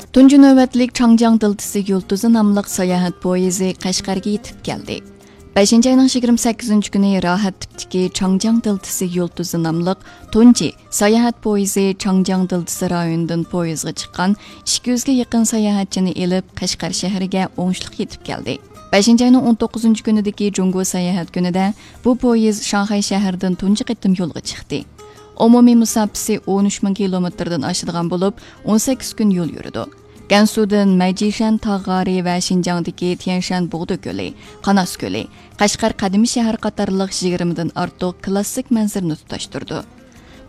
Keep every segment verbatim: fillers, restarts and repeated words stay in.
تۇنجى نۆۋەتلىك چاڭجياڭ دىلتىسى يۇلتۇزى ناملىق ساياھەت پويىزى قەشقەرگە يېتىپ كەلدى. بەشىنچى ئاينىڭ يىگىرمە سەككىزىنچى كۈنى راھەت تىپتىكى چاڭجياڭ دىلتىسى يۇلتۇزى ناملىق تۇنجى ساياھەت پويىزى چاڭجياڭ دىلتىسى رايونىدىن پويىزغا چىققان ئىككى يۈزگە يېقىن ساياھەتچىنى ئېلىپ، قەشقەر شەھىرىگە ئوڭۇشلۇق يېتىپ كەلدى. بەشىنچى ئاينىڭ ئون توققۇزىنچى كۈنىدىكى جۇڭگو ساياھەت كۈنىدە بۇ پويىز شاڭخەي شەھىرىدىن تۇنجى قېتىم يولغا چىقتى. ئومۇمىي مۇساپىسى ئون ئۈچ مىڭ كىلومېتىردىن ئاشىدىغان بولۇپ، ئون سەككىز كۈن يول يۈرىدۇ. گەنسۇدىن مەيجىشەن تاغ غارى ۋە شىنجاڭدىكى تيەنشەن بۇغدا كۆلى، قاناس كۆلى، قەشقەر قەدىمىي شەھەر قاتارلىق يىگىرمىدىن ئارتۇق كلاسسىك مەنزىرىنى تۇتاشتۇرىدۇ.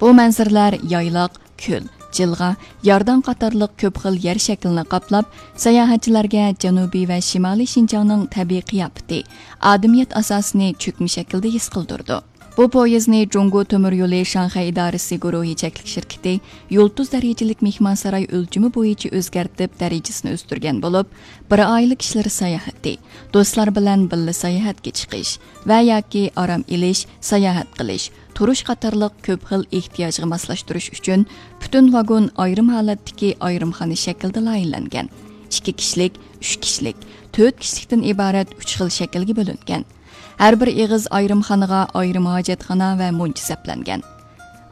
بۇ مەنزىرىلەر يايلاق، كۆل، جىلغا، يارداڭ قاتارلىق كۆپ خىل يەر شەكلىنى قاپلاپ، ساياھەتچىلەرگە جەنۇبىي ۋە شىمالىي شىنجاڭنىڭ تەبىئىي قىياپىتى، ئادىمىيەت ئاساسىنى چۆكمە شەكىلدە ھېس قىلدۇرىدۇ. بۇ پويىزنى جۇڭگو تۆمۈر يولى شاڭخەي ئىدارىسى گۇرۇھى چەكلىك شىركىتى يۇلتۇز دەرىجىلىك مېھمانساراي ئۆلچىمى بويىچە ئۆزگەرتىپ، دەرىجىسىنى ئۆستۈرگەن بولۇپ، بىر ئائىلە كىشىلىرى ساياھىتى، دوستلار بىلەن بىللە ساياھەتكە چىقىش ۋە ياكى ئارام ئېلىش، ساياھەت قىلىش، تۇرۇش قاتارلىق كۆپ خىل ئېھتىياجغا ماسلاشتۇرۇش ئۈچۈن پۈتۈن ۋاگون ئايرىم ھالەتتىكى ئايرىمخانا شەكلىدە لايىھەلەنگەن. ئىككى كىشىلىك، ئۈچ كىشىلىك، تۆت كىشىلىكتىن ئىبارەت ئۈچ خىل شەكىلگە بۆلۈنگەن. ھەر بىر ئېغىز ئايرىمخانىغا ئايرىم ھاجەتخانا ۋە مۇنچە سەپلەنگەن.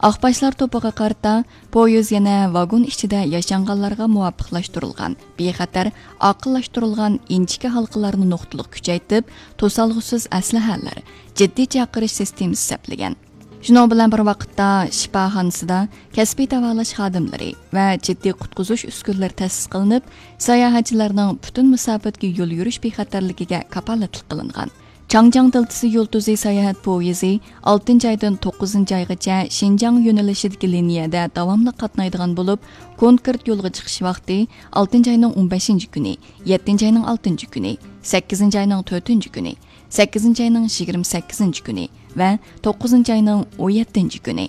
ئاقباشلار توپىغا قارىتا، پويىز يەنە ۋاگون ئىچىدە ياشانغانلارغا مۇۋاپىقلاشتۇرۇلغان، بىخەتەر، ئاقىللاشتۇرۇلغان ئىنچىكە ھالقىلارنى نۇقتىلىق كۈچەيتىپ، توسالغۇسىز ئەسلىھەلەر، جىددىي چاقىرىش سىستېمىسى سەپلىگەن. شۇنىڭ بىلەن بىر ۋاقىتتا، شىپاخانىسىدا كەسپىي داۋالاش خادىملىرى ۋە جىددىي قۇتقۇزۇش ئۈسكۈنىلىرى تەسىس قىلىنىپ، ساياھەتچىلەرنىڭ پۈتۈن مۇساپىدىكى يول يۈرۈش بىخەتەرلىكىگە كاپالەتلىك قىلىنغان. چاڭجياڭ دىلتىسى يۇلتۇزى ساياھەت پويىزى ئالتىنچى ئايدىن توققۇزىنچى ئايغىچە شىنجاڭ يۆنىلىشىدىكى لىنىيەدە داۋاملىق قاتنايدىغان بولۇپ، كونكرېت يولغا چىقىش ۋاقتى ئالتىنچى ئاينىڭ ئون بەشىنچى كۈنى، يەتتىنچى ئاينىڭ ئالتىنچى كۈنى، سەككىزىنچى ئاينىڭ تۆتىنچى كۈنى، سەككىزىنچى ئاينىڭ يىگىرمە سەككىزىنچى كۈنى ۋە توققۇزىنچى ئاينىڭ ئون يەتتىنچى كۈنى.